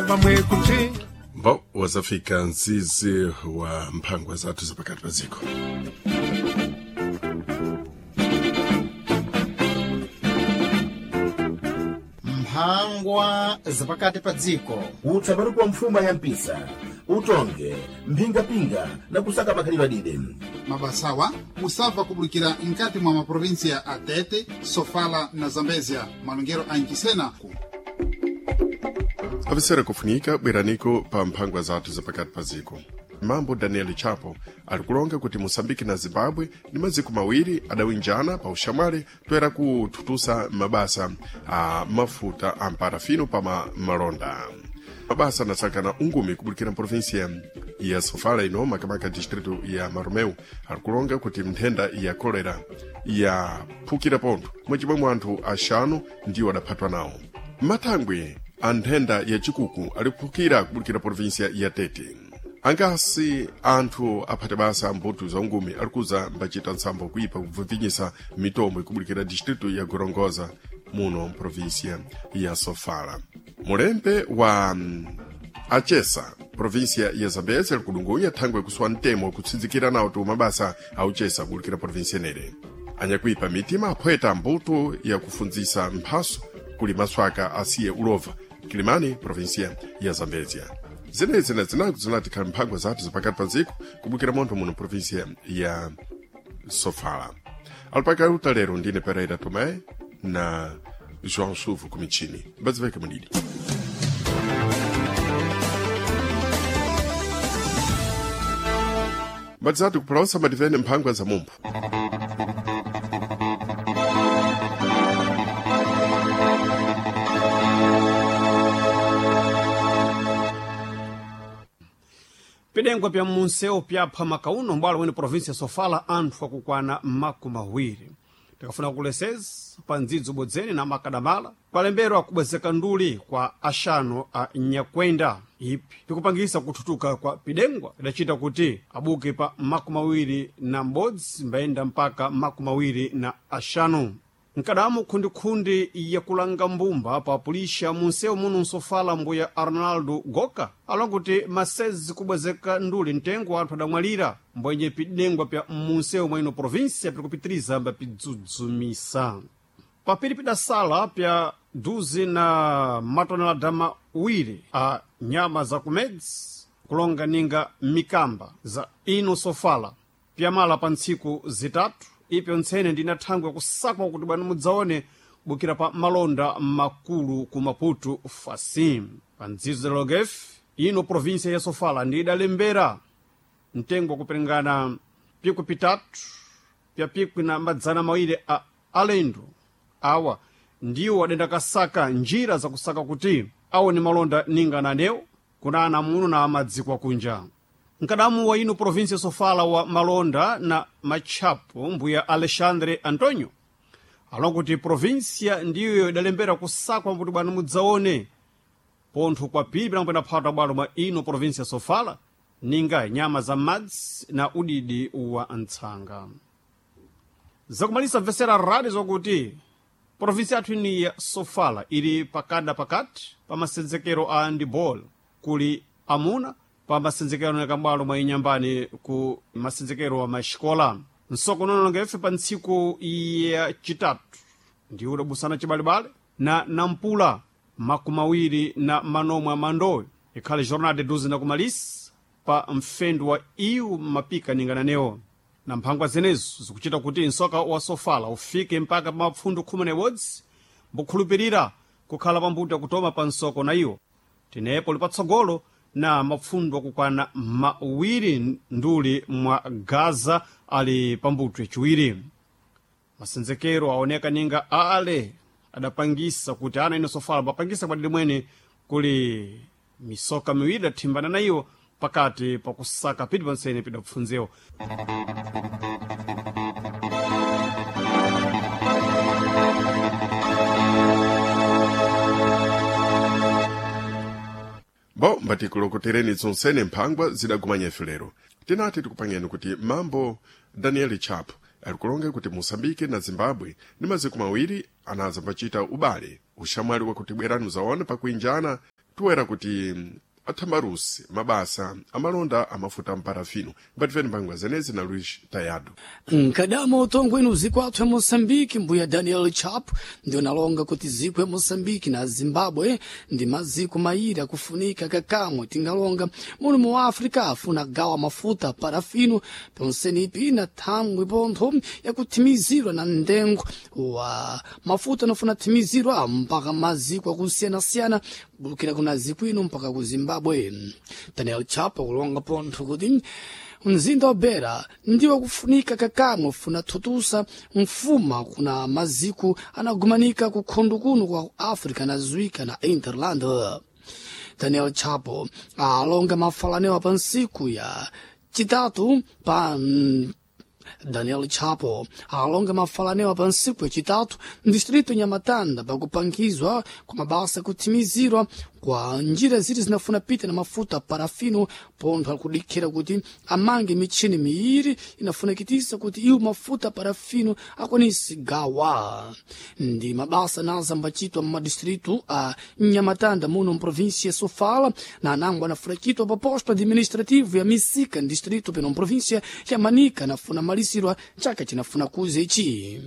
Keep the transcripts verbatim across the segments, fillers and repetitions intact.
vamwe kuchinya. Bo wazafika nzizi wa mphangwa zathu zapakati pa ziko. Mphangwa zapakati pa dziko. Utsa kwa mfuma ya mpisa, utonge mphingapinga na kusaka makhalidwe adide. Mabasawa musabva kubulikira nkati mwa maprovinsia a Tete, Sofala na Zambezia, malongero a Nkisena. Avisera kufunika bweraniko pa mphangwa zathu zapakati pa ziko. Mambo Daniel Chapo alikulonga kuti Moçambique na Zimbabwe ni maziko mawiri adawinjana pa uxamwali toera kuthutusa mabasa a mafuta a mparafino pa ma malonda. Mabasa anasakana ungumi kubulikira mprovinsia ya Sofala ino makamaka distrito ya Maromeu alikulonga kuti nthenda ya kolera yaphukira pontho mwacimwemwe anthu axanu ndiwo adaphatwa nawo. Mathangwe a nthenda ya chikuku aliphukira kubulikira provinsia ya Tete. Angasi anthu aphate basa mbuto za ungumi alikuza mbacita ntsambo kuipa kubvuvinyisa mitombo ikubulikira distrito ya Gorongosa muno mprovinsia ya Sofala. Mulembe wa mm, achesa provinsia ya Zambezi alikudungunya thangwe kuswa mtemo kutsinzikira nawo tu mabasa auchesa kubulikira provinsia inere. Anyakuipa mitima aphweta mbuto ya kufundzisa mphaso kuli maswaka asiye ulova Kilimani provinsia ya Zambezia. Zenezi na zinaku zinatikhala mphangwa zathu zapakati pa dziko kubukira montho muno provinsia ya Sofala. Alipakauta lero ndine Pereira Tomé na João Suvo kumichini. Mbadziveke mudidi. Mbadzatu kupulausa madivene mphangwa za mumphu. Pidengwa pya munsewu pyapha makauno mbwalo mwene provinsia ya Sofala anthu akukwana makumi awiri. Tikafuna kuleseza pa ndzidzo bodzeni na makadamala kwalemberwa kubwezeka nduli kwa axanu a nyakwenda ipi pikupangisa kuthutuka kwa pidengwa idacita kuti abuke pa makumi awiri na m'bodzi mbayenda mpaka makumi awiri na axanu. Nkadamu khundikhundi yakulanga mbumba pa pulisha munsewu muno nsofala mbuya Arnaldo Goka alonga kuti masezi kubwezeka nduli mtengo anthu adamwalira mbwenye pidengwa pya munsewu mwa ino provinsia pirikupitiriza mba pidzudzumisa. Papiri pidasala pya duzi na matonelada mawiri a nyama za kumedzi kulonga ninga mikamba za ino sofala pyamala pa ntsiku zitatu ipyo ntsene ndina thangwe kusakwa kuti bwana mudzaone bukira pa malonda makulu ku Maputo fasim. Pa ndzidzo za logef ino provinsia ya Sofala ndi idalembera mtengo wakuperengana pikwi pitatu pya pikwi na madzana mawiri a alendo awa ndiwo adenda kasaka njira zakusaka kuti aone malonda ninga nanewo kuna ana muno na amadziko akunja. Nkadamu wa ino provinsia Sofala wa malonda na matchapo mbuya Alexandre Antonio alonga kuti provinsia ndiyo idalembera kusakwa kuti bwana mudzaone pontho kwa pili pinakupenda phata bwalo mwa ino provinsia Sofala ninga nyama za madzi na udidi wa ntsanga. Zakumalisa mvesera radi zokuti provinsi yathu ini ya Sofala ili pakada pakati pa masenzekero a handball kuli amuna pa masenzekero na kambalo mwa inyambani ku masenzekero wa maxikola. Nsoko nononga ife pa ntsiku ya chitatu ndi udabusana chibalebale na nampula makumi awiri na manomwe amandowe ikhale jornada duzi na kumalisa pa mfendu wa iwu mapika ningananewo na mphangwa zenezo zikuchita kuti nsoka wa Sofala ufike mpaka pa mapfundu khumi na ibodzi mbukhulupirira kukhala pambuto yakutoma pa nsoko na iwo tinepo lipatsogolo na mapfundu akukwana mawiri nduli mwa Gaza ali pambuto yaciwiri. Masenzekero aoneka ninga ale adapangisa kuti ana ino Sofala bapangisa kwadidi mwene kuli misoka miwiri idathimbana na iwo pakati pakusaka piti pansene pidapfunzewo. Bo mbatikulongotereni zonsene mphangwa zidagumanya ife lero. Tinati tikupangeni kuti mambo Daniel Chapo alikulonga kuti Moçambique na Zimbabwe ni maziko mawiri anaza mbacita ubale uxamwali wakuti bwerani muzaone pakuinjana Toera kuti athambarusi mabasa amalonda amafuta amparafino. Mbatifeni mphangwa zenezi na Luis Tayado. Nkadama utongweni uziku athu ya Moçambique, mbuya Daniel Chapo ndio nalonga kuti ziko ya Moçambique na Zimbabwe ndi maziko mairi akufunika kakamwe tingalonga muno mu África afuna gawa mafuta parafino ponsenipi na thangwi pontho yakuthimizirwa na ndengo wa mafuta anafuna thimizirwa mpaka maziko akusiyana-siyana kubulukira kuna ziko ino mpaka ku Zimbabwe. Daniel Chapo kulonga pontho kuti mzinda wa Beira ndiwo kufunika kakamwe funa thutusa mfuma kuna maziko anagumanika kukhondo kuno kwa Africa na zwika na Interland. Daniel Chapo alonga mafalanewa pa nsiku ya chitatu pa Daniel Chapo alonga mafalanewa pa nsiku yacitatu mdistrito Nhamatanda pakupangizwa kwa mabasa kuthimizirwa kwa njira ziri zinafuna pita na mafuta parafino pontho akudikhira kuti amange michini miiri inafunakitisa kuti iwo mafuta parafino akwanise gawa. Ndi mabasa naza ambacitwa mmadistritu a Nhamatanda muno mprovinsia ya Sofala na anango anafunacitwa pa posto administrativo ya Misika distrito peno mprovinsia ya Manica anafuna malisirwa chaka chinafuna kuza ichi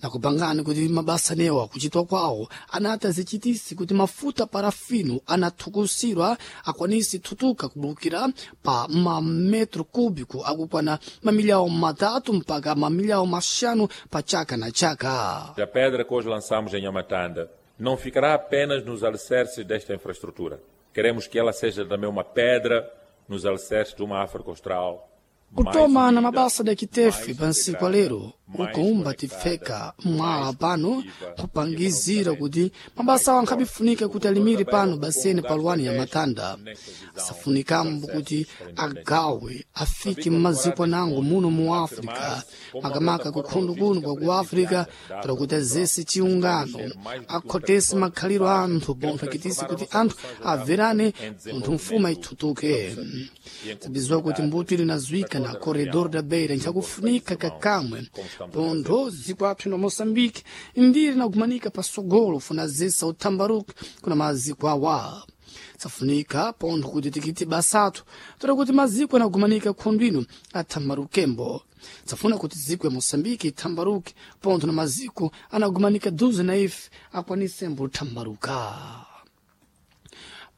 nakupangani kuti mabasa newa kuchitwa kwawo anati azichitisi kuti mafuta parafino anathukusirwa akwanisi thutuka kubulukira pa mametro cúbico akukwana mamilhão matatu mpaka mamilhão maxanu pa chaka na chaka. A pedra que hoje lançamos em Nhamatanda não ficará apenas nos alicerces desta infraestrutura. Queremos que ela seja também uma pedra nos alicerces de uma África Austral kutoma na mabasa da kitefe pa nsiku alero ukumba tifeka mwala pano kupangizira kuti mabasa awo ankhabifunika kuti alimire pano basene paluwani ya matanda asafunikambo kuti agawe afike mmaziko anango muno mu África makamaka kukhondo kuno kwa ku África para kuti azese chiungano akhotese makhaliro a anthu pontho akitise kuti anthu averane pontho mfuma ithutuke. Tabizwa kuti mbuto ili nazwika na corredor da Beira nchakufunika kakamwe pontho ziko apho na Moçambique ndiri nakumanika pasogolo funa zesa uthambaruka kuna maziko awa safunika pontho kuti tikiti basatu toda kuti maziko anagumanika khundu ino athambarukembo safuna kuti ziko ya Moçambique ithambaruke pontho na maziko anagumanika duze na ife akwanisembo uthambaruka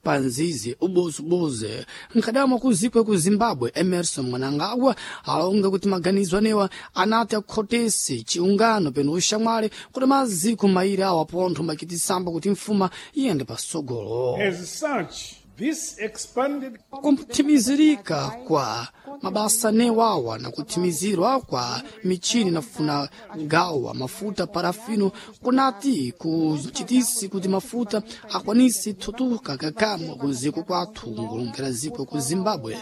panzizi ubozuboze nkadama kuzikwe ku Zimbabwe Emerson Mnangagwa alonga kuti maganizo anewa anati akhotese chiungano peno ushamwali kuti maziko mairi awa pontho makitisamba kuti mfuma iyende pasogolo. As such, this expanded Kuthimizirika kwa mabasa newawa na kuthimizirwa kwa michini nafuna gawa mafuta parafino kunati kuchitisi kuti mafuta akwanisi thutuka kakamwe kuziko kwathu ngulongera ziko ku Zimbabwe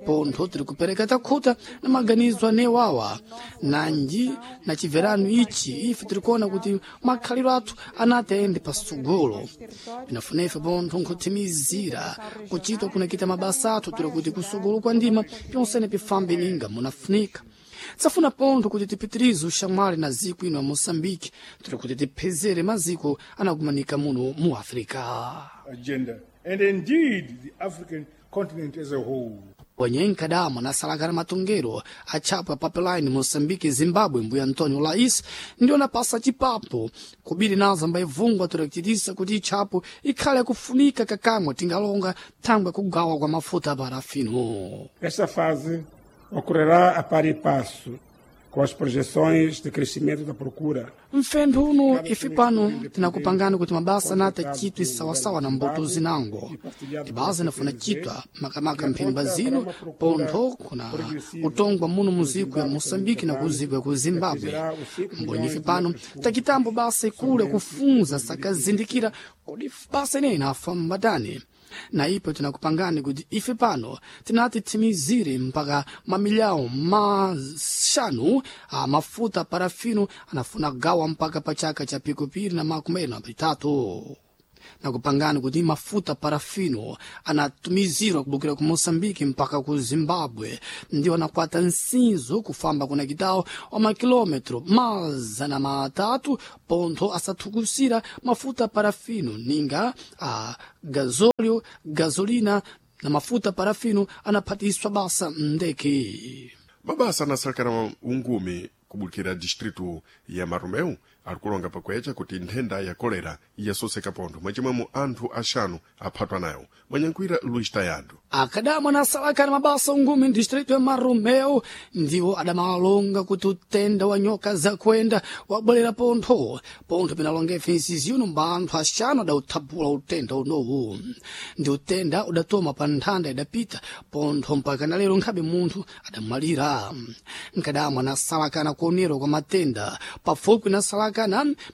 pontho tiri kupereka takhuta na maganizo anewawa nanji na chibverano ichi ife tirikuona kuti makhaliro athu anati ayende pasogolo pinafuna ife pontho nkuthimizira kuchitwa kunakita mabasa athu tiri kuti kusogolo kwa ndima pyonsene pifambe ninga munafunika safuna pontho kuti tipitirize ushamwali na ziko ino ya Moçambique tiri kuti tiphezere maziko anakumanika muno mu África. agenda and indeed the African continent as a whole. Wenye nkadama nasalakana matongero achapa pipeline Moçambique Zimbabwe mbuya Antonio Lais ndio napasa chipapo kubiri nazo ambaivungwa torakitisa kuti ichapo ikhale yakufunika kakamwe tingalonga thangwe kugawa kwa mafuta parafino. Esta fase ocorrerá a par e passo com as projeções de crescimento da procura. Mfentho uno ife pano tinakupangani kuti mabasa anati achitwe sawasawa na mbuto zinango tibasa inafuna chitwa makamaka mphemba zino pontho kuna utongwa muno muziko ya Moçambique na kuziko ya ku Zimbabwe mbonyi ife pano takitambo basa ikulu yakufunza sakazindikira kodi basa ineyi inafa mbatani na ipo tinakupangani kuti ife pano tinati timizire mpaka mamilhão maxanu a mafuta parafino anafuna gawa mpaka pa chaka cha pikupiri na makumi na pitatu. Nakupangani kuti mafuta parafino anatumizirwa kubukira ku Moçambique mpaka ku Zimbabwe, ndiwo anakwata nsinzo kufamba kuna kitawo wa makilometro mazana matatu pontho asathukusira mafuta parafino ninga a gazolio, gasolina na mafuta parafino anaphatiswa basa ndeke. Mabasa anasalakana ungumi kubukira distritu ya Marumeu ali kulonga pakwecha kuti nthenda ya kolera iyasoseka pontho, mwachimwemo anthu axanu aphatwa nayo. Mwanyankhwira Luis Tayando. Akadamwa anasalakana mabasa ungumi mdistritu ya Marumeu ndiwo adamalonga kuti utenda wa nyoka zakwenda wabwerera pontho. Pontho pinalonga ifensi uno mba anthu axanu adauthaphula utenda unowu. Ndi utenda udatoma pa nthanda idapita pontho mpaka na lero nkhabe munthu adamwalira. Nkadamwa anasalakana kuonerwa kwa matenda pafupi nasalakana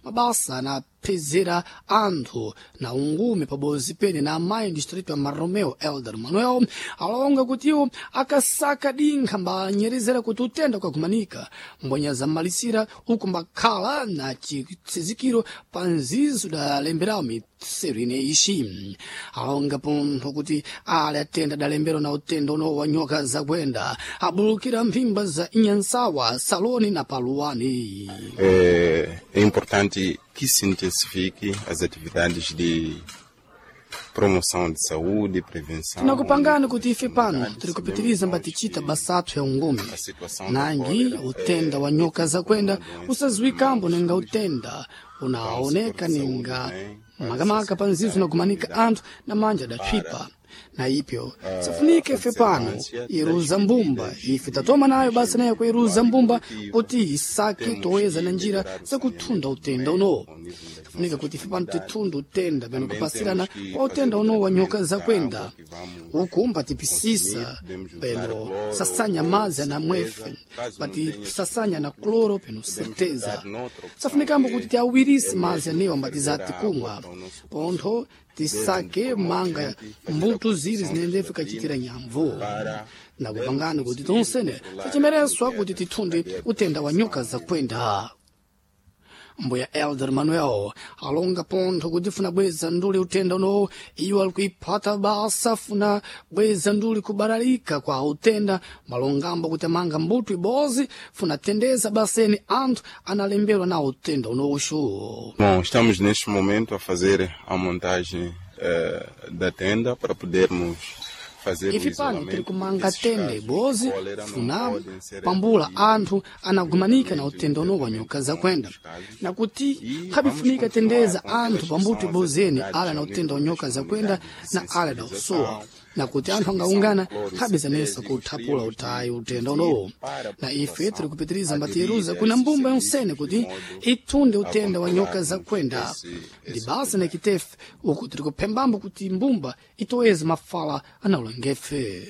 mabasa na phezera anthu na ungume pabozi pene na amayi distritu ya Maromeo Elder Manuel alonga kuti iwo akasaka dinkha mbanyerezera kuti utenda ukagumanika mbwenya zamalisira uku mbakhala na chitsizikiro pa nzizo dalemberawo mitseru ine ixi. Alonga pontho kuti ali atenda adalembera na utenda uno wa nyoka zakwenda abulukira mphimba za inyansawa saloni na paluwani. É, é importante que se intensifique as atividades de promoção de saúde, prevenção. Tinakupangani kuti ife pano tiri kupitiriza mbatichita basathu ya ungumi nangi utenda wa nyoka zakwenda usaziwikambo ninga utenda unaoneka ninga makamaka pa nzizo unagumanika anthu na manja adatswipa na ipyo sifunike ife pano iruza mbumba ife tatoma nayo basa nayo kuiruza mbumba kuti isake toeza na njira zakuthunda utenda uno. Sifunika kuti ife pano tithunde utenda pano kupasirana kwa utenda uno wa nyoka zakwenda uku mbatipisisa peno sasanya mazi anamwefe patisasanya na kloro peno certeza. Safunikambo kuti tiawirise mazi anewa mbatizati kumwa pontho tisake manga mbuto ziri zinendefe kachitira nyamvu. Nakupangani kuti tonsene tichemereswa kuti tithunde utenda wa nyoka zakwenda. Mbuya Elder Manuel alonga pontho kuti funa bweza nduli utenda unowu iwo ali kuiphata basa funa bweza nduli kubalalika kwa utenda malongambo kuti amanga mbuto ibozi funa tendeza baseni anthu analemberwa na utenda unowuxu. Bom, estamos neste momento a fazer a montagem eh, da tenda para podermos fazer o Ife pano tiri isolamento kumanga desses tenda casos de ibozi cólera, não funa podem ser pambula anthu anagumanika na utenda uno wa nyoka zakwenda nakuti khabifunika tendeza anthu pambuto ibozeni ala na utenda wa nyoka zakwenda na ala da usowa nakuti anthu angaungana khabizanesa kuthaphula utayi utenda unowo. Na ife tiri kupitiriza mbatiyeruza kuna mbumba yonsene kuti ithunde utenda wa nyoka zakwenda ndi basa nakitefe uku tiri kuphembambo kuti mbumba itoweze mafala anaulengefe.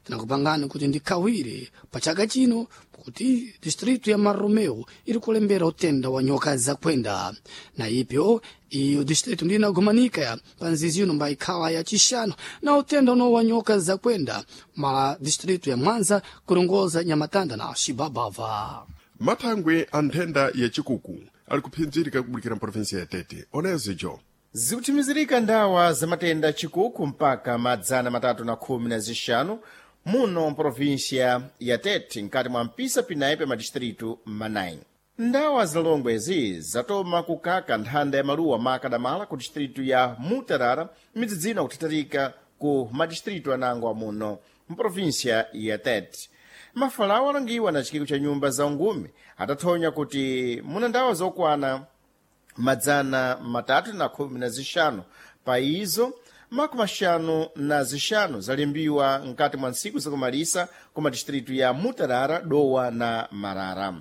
Tinakupangani kuti ndikhawire pa chaka chino kuti distritu ya Maromeo iri kulembera utenda wa nyoka zakwenda na ipyo iyo distritu ndi inagumanika ya pa nzizi ino mbayikhala ya chixano na utenda uno wa nyoka zakwenda mala distritu ya Mwanza kulongoza Nyamatanda na Xibabava. Mathangwe a nthenda ya chikuku ali kuphinzirika kubukira mprovinsia ya Tete. Onezijo Zikuthimizirika ndawa za matenda chikuku mpaka madzana matatu na khumi na zixanu muno mprovinsia ya Tete nkati mwa mpisa pinayi pa madistritu manayi. Ndawa zalongwezi zatoma kukaka nthanda ya maluwa makadamala ku distritu ya Mutarara midzidzino kuthatharika ku madistritu anango amuno mprovinsia ya Tete. Mafalawo alangiwa na chikiko cha nyumba za ungumi atathonya kuti muna ndawa zokwana madzana matatu na khumi na zixanu pa izo makumi axanu na zixanu zalimbiwa nkati mwa ntsiku zakumalisa ku madistritu ya Mutarara, Dowa na Marara.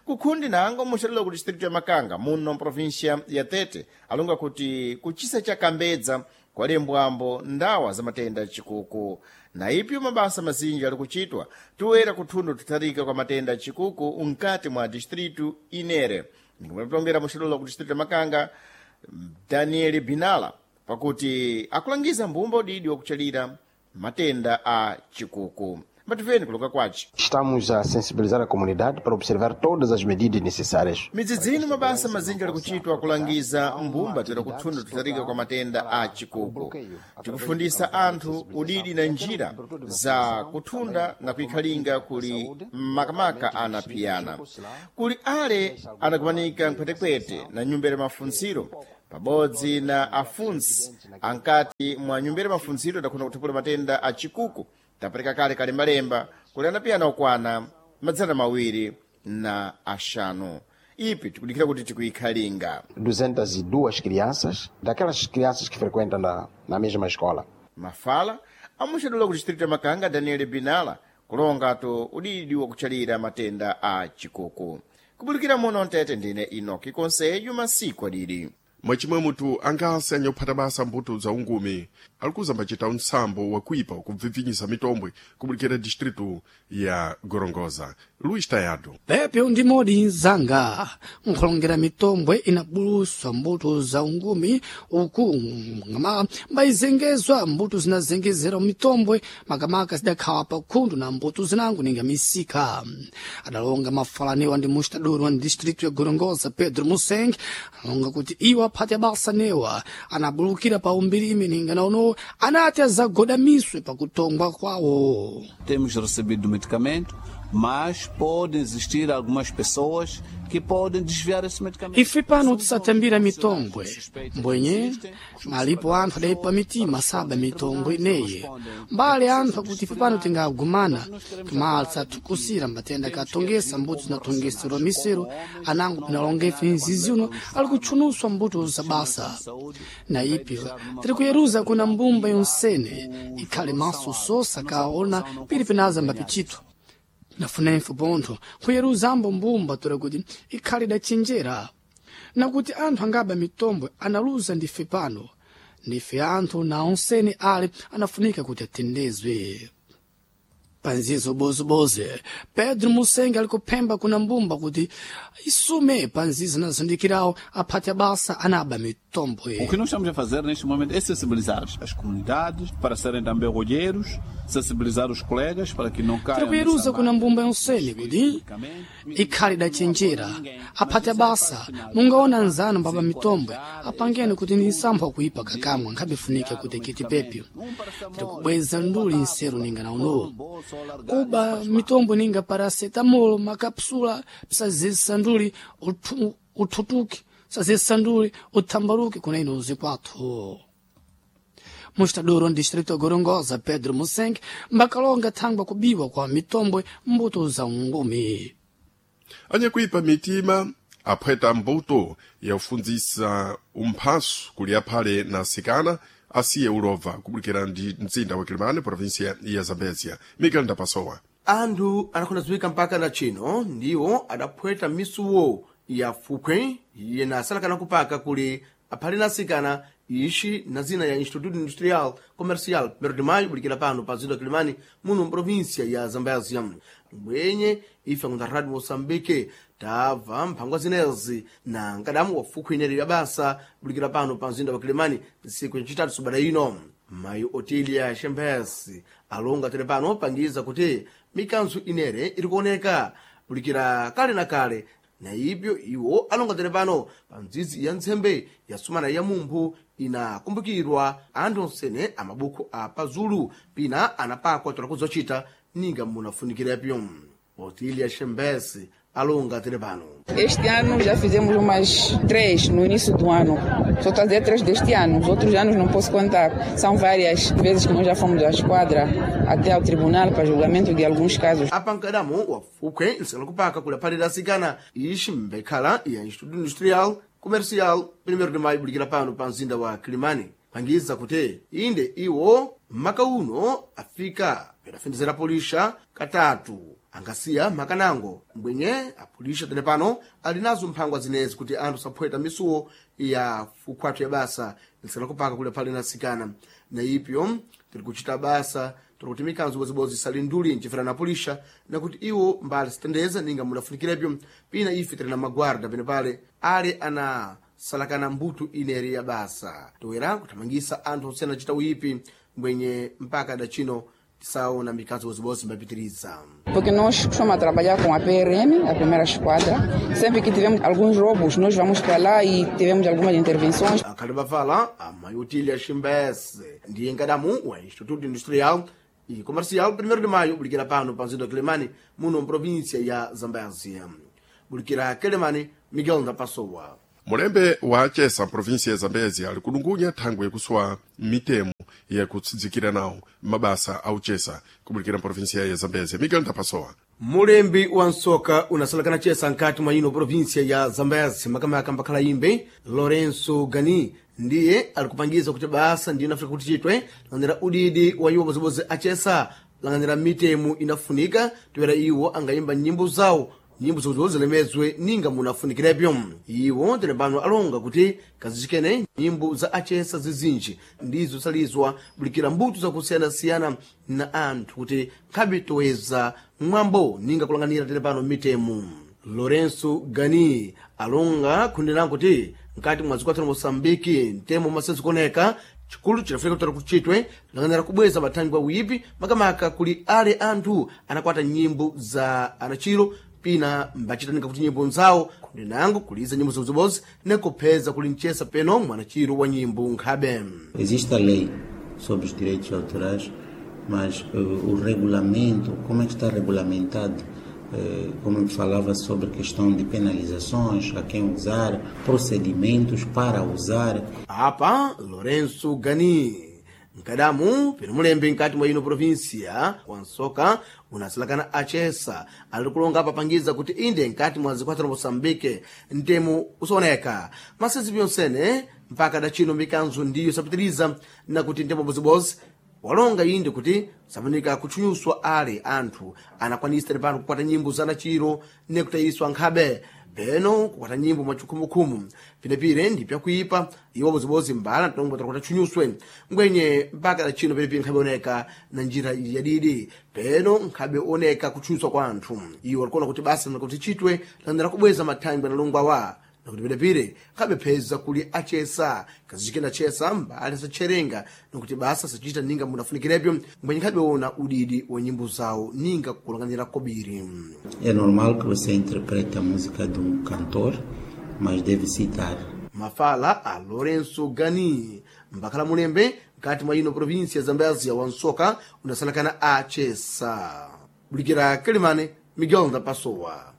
Kukhundi nango muxalelo ku distritu ya Makanga muno mprovinsia ya Tete alonga kuti kuchisa cha Kambedza kwalembwambo ndawa za matenda chikuku na ipyo mabasa mazinji ali kuchitwa toera kuthundo tutharika kwa matenda chikuku nkati mwa distritu inere. Ndikumatongera muxalelo ku distritu ya Makanga Daniel Binala pakuti akulangiza mbumba udidi wakuchalira matenda a chikuku. Mbativeni kulonga kwace. Estamos a sensibilizar a comunidade para observar todas as medidas necessárias. Midzidzini mabasa mazinji ali kuchitwa kulangiza mbumba toera kuthunda tutarika kwa matenda a chikuku. Tikufundisa anthu udidi na njira za kuthunda na kuikhalinga kuli makamaka anapiyana. Kuli ale anakumanika nkhwetekwete na nyumba ya mafunziro pabodzi na afunsi ankati mwa nyumba ya mafunziro adakhona kuthupula matenda a chikuku. Tapereka kale kalembalemba kuli anapiyana okwana madzana mawiri na axanu. Ipi tikudikira kuti tikuikhalinga. duzentas e duas crianças, daquelas crianças que frequentam na, na mesma escola. Mafala amuxadula ku distrito ya Makanga Daniel Binala kulongatu udidi wakutchalira matenda a chikuku. Kubulikira muno mtete ndine Inoki Konseyo masiku adidi. Mwachimwe mutu angase anyakuphata basa mbuto za ungumi alikuza mbacita unsambo wakuipa wakubvibvinyisa mitombwe kubulikira distritu ya Gorongosa. Luis Tayado. Pepyo ndi modi zanga nkhulongera mitombwe inabuluswa mbuto za ungumi uku ngama mbayizengezwa mbuto zinazengezera mitombwe makamaka zidakhawa pa khundu na mbuto zinango ninga misika. Adalonga mafalanewa ndi mustadori wa distritu ya Gorongosa Pedro Museng alonga kuti iwo aphati abasa newa anabulukira pa umbirimi ninga naono anati azagodamiswe pakutongwa kwawo. Temos recebido medicamento, mas podem existir algumas pessoas que podem desviar esse medicamento. Ife pano tisatambira mitombwe mbwenye malipo anthu adaipa mitima saba mitombwe ineyi mbale anthu akuti ife pano tingagumana kumatsa tukusira matenda katongesa mbuto zinatongeserwa misero anango pinalonga ife nzizi uno ali kutchunuswa mbuto za basa na ipyo tiri kuyeruza kuna mbumba yonsene ikhale maso sosa kaona pili pinaza mbapichito nafunenso pontho nkhuyeruza mbumba tola kuti ikhale idachenjera nakuti anthu angaba mitombo analuza ndife pano ndife anthu na onsene ale anafunika kuti atendezwe. Panzizo bozoboze Pedro Musenge ali kuphemba kuna mbumba kuti isume panzizo nazindikirawo aphati abasa anaba mitombwe. O que nós estamos a fazer neste momento é sensibilizar as comunidades para serem também olheiros, sensibilizar os colegas para que não caiam. Tiri kuyeruza kuna mbumba yonsene kuti ikhale idachenjera aphati abasa mungaona nzanu mbaba mitombwe apangeni kuti ni nsampha kuipa kakamwa nkhabifunike kuti kiti pepyo. Tiri kubweza nduli nseru ninga nauno kuba mitombo ninga paracetamol makapsula psazisa nduli uthu- uthutuke sazisa nduli uthambaluke kuna ino zikwathu. Mustadoro distrito Gorongosa Pedro Museng mbakalonga thangwa kubiwa kwa mitombwe mbuto za ungumi. Anyakuipa mitima aphweta mbuto yakufundzisa umphaso kuli aphale na asikana asiye ulova kubulikira ndi mzinda wa Kilimani provinsia ya Zambezia. Miguel Ndapasowa. Anthu anakhondadziwika mpaka na chino ndiwo adaphweta misuwo ya fukhwe yena asalakana kupaka kuli aphale na asikana ixi na zina ya Instituto Industrial Comercial Primeiro de Maio bulikira pano pa zinda Kilimani muno mprovinsia ya Zambézia. Mbwenye ife akunda Radio Moçambique tabva mphangwa zinezi na nkadamu wa fukhwe ineri ya basa bulikira pano pa mzinda wa Kilimani ntsiku yacitatu subada ino. Mayi Otilia Shembesi alonga tere pano pangiza kuti mikanzo inere iri kuoneka bulikira kale na kale na ibyo iwo alonga tere pano pa ndzidzi ya ntsembe ya sumana ya mumphu inakumbukirwa anthu onsene amabukho a pazulu pina anapakwa tola kuzochita ninga munafunikirepyo. Otilia Shembesi alonga tere pano. Este ano já fizemos umas três no início do ano. Só estou a dizer três deste ano, os outros anos não posso contar. São várias vezes que nós já fomos à esquadra, até ao tribunal para julgamento de alguns casos. Apankadamo wa fukhwe nsela kupaka kuli aphalira asikana ixi mbekhala ya Instituto Industrial Comercial Primeiro de Maio bulikira pano pa mzinda wa Kilimani pangiza kuti inde iwo maka uno afika pedafendezera polisha katatu angasiya makanango mbwenye apulisha tene pano ali nazo mphangwa zinezi kuti anthu saphweta misuwo ya fukhwathu ya basa nsela kupaka kuli aphale na asikana na ipyo tiri kuchita basa tiri kuti mikanzo ibozibodzi isali nduli ncifera na pulisha nakuti iwo mbali sitendeza ninga mudafunikirepyo pina ife tiri na magwarda penepale ale ana salakana mbuto ineri ya basa toera kuthamangisa anthu osiyana achita uyipi mbwenye mpaka dachino Tisaona mikanzo bozibodzi mbapitiriza. Porque nós costumamos trabalhar com a P R M, a primeira esquadra. Sempre que tivemos alguns roubos, nós vamos para lá e tivemos algumas intervenções. Akhali bafala amayotilya Chimbese ndiye nkadamu wa Instituto Industrial e Comercial primeiro de Maio, bulikira pano pa mzinda wa Quelimane, muno mprovíncia ya Zambézia. Bulikira Quelimane, Miguel Ndapassowa. Mulembe wa Chesa província ya Zambézia ali kudungunya thangwe yakuswa mitemo yakutsidzikira nawo mabasa a uchesa kubulikira província ya Zambézia. Miguel Ndapassowa. Mulembi wa nsoka unasalakana chesa nkati mwa ino província ya Zambézia, makamaka mbakhala imbe Lourenço Gani ndiye alikupangiza kuti basa ndiyo inafika kuti chitwe lang'anira udidi wa iwo bodzibodzi achesa lang'anira mitemo inafunika toera iwo angayimba nyimbo zawo nyimbo zobodzi zilemezwe ninga munafunikirebyo. Iwo tene pano alonga kuti kazichikene nyimbo za achesa zizinji ndizo salizwa bulikira mbuto zakusiyanasiyana na anthu kuti nkhabe toweza mwambo ninga kulang'anira tene pano mitemo. Lourenço Gani alonga khundirango kuti nkati mwa dziko la Moçambique mtemo masezikuoneka chikulu chidafika kutala kuchitwe lang'anira kubweza mathangwi awipi makamaka kuli ale anthu anakwata nyimbo za anachiro pina mbachitanika kuti nyimbo nzawo khundinango kuliza nyimbo zobozibodzi nekupheza kuli mchesa peno mwanachiro wa nyimbo nkhabe. Existe a lei sobre os direitos autorais, mas uh, o regulamento, como é que está regulamentado? Uh, como eu falava sobre questão de penalizações, a quem usar, procedimentos para usar. Apa Lourenço Gani nkadamu pino mulembe nkati mwa ino província wansoka unasilakana achesa ali kulonga apapangiza kuti inde nkati mwa zikwata la Moçambique ntemo usaoneka masezi pyonsene mpaka dachino mikanzo ndiyo sapitiriza na kuti ntemo bozibozi walonga inde kuti safunika kutchunyuswa ale anthu anakwanisa pano kukwata nyimbo za nachiro nekutayiswa nkhabe peno kukwata nyimbo mwachikhumukhumu pinepire ndi pyakuipa iwo bozibozi mbala ntombo takuti tchunyuswe ngwenye mpaka dachino penepire nkhabe oneka na njira yadidi peno nkhabe oneka kutchunyuswa kwa anthu iwo alikuona kuti basa nakuti chitwe landera kubweza mathangwi analongwa wa nakuti penepire nkhabe pheza kuli achesa kazichikena chesa mbali sacherenga nakuti basa sachita ninga munafunikirebyo ngwenye nkhabe ona udidi wa nyimbo zawo ninga kulang'anira kobiri. É normal que você interprete a música de um cantor, mas deve citar. Mafala a Lourenço Gani mbakhala mulembe mkati mwa ino província ya Zambézia wansoka unasalakana achesa. Bulikira Quelimane, Miguel Ndapassowa.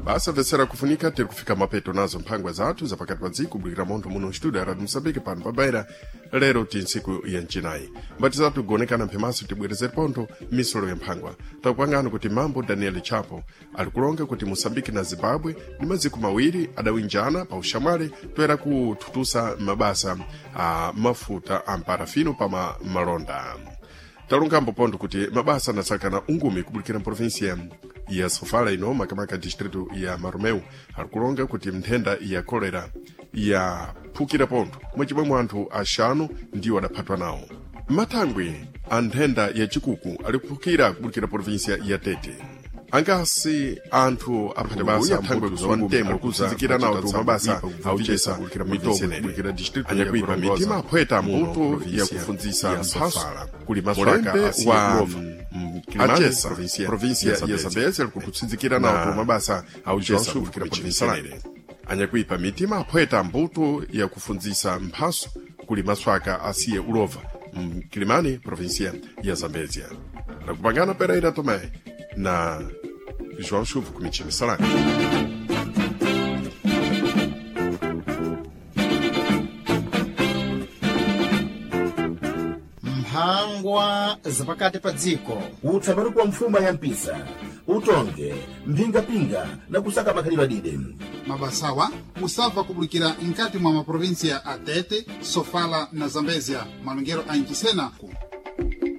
Basa vesera kufunika tiri kufika mapeto nazo mphangwa zathu zapakati pa dziko kubulikira montho muno studio ya Radio Moçambique pano pa Beira lero ti ntsiku ya mcinayi mbati zathu kugonekana mphemaso tibwerezere pontho misolo ya mphangwa takupangani kuti mambo Daniel Chapo ali kulonga kuti Moçambique na Zimbabwe ndi maziko mawiri adawinjana pa ushamwali toera kuthutusa mabasa a mafuta a mparafino pa ma malonda. Talungambo pontho kuti mabasa anasakana ungumi kubulikira mprovinsia ya Sofala ino makamaka distrito ya Maromeu ali kulonga kuti nthenda ya kolera yaphukira pontho mwachimwemwe anthu axanu ndiwo adaphatwa nawo. Mathangwi a nthenda ya chikuku ali kuphukira kubulikira provinsia ya Tete. Angasi anthu aphate basa thangwe kuzowa mtemo kuzizikira nawo tu mabasa auchesa mitombo anyakuipa mitima aphweta mbuto yakufundzisa mphaso kuli maswaka wa achesa provinsia ya Zambézia likukutsinzikira nawo tu mabasa auchesa anyakuipa mitima aphweta mbuto yakufundzisa mphaso kuli maswaka asiye ulova mkilimani provinsia ya Zambézia. Nakupangana Pereira Tomé na João Chuvo Comitiva Salame. Mphangwa zapakati pa dziko. Utsamani kwa mfuma ya mpisa utonge mphingapinga na kusaka makhalidwe adide. Mabasawa musabva kubulikira nkati mwa maprovinsia a Tete, Sofala na Zambezia malongero a Nchisena ku